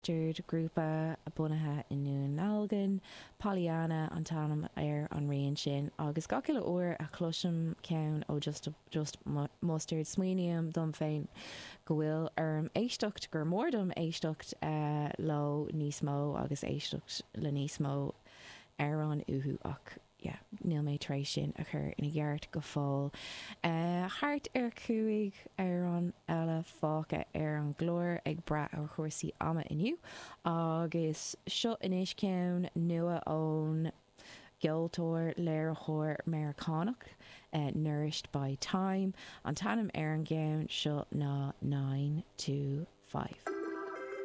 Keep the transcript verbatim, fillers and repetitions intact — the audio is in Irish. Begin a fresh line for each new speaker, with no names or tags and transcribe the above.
Mustard grúpa bunaithe i nDún Dealgan, Pollyanna an t-ainm ar an rian sin agus gach uile uair a chloisim ceann ó Just Just Mustard smaoiním dom féin go bhfuil orm éisteacht gur mór dom éisteacht uh, leo níos mó agus éisteacht le níos mó amhrán uathu ach yeah, níl mé tar éis sin a chur ina gceart go fóill. Uh, thart ar cúig amhrán eile fágtha ar an gclár ag brath ar chúrsaí ama inniu agus seo anois ceann nua ón gceoltóir léiritheoir Meiriceánach uh, Nourished by Time an t-ainm ar an gceann seo ná nine to five.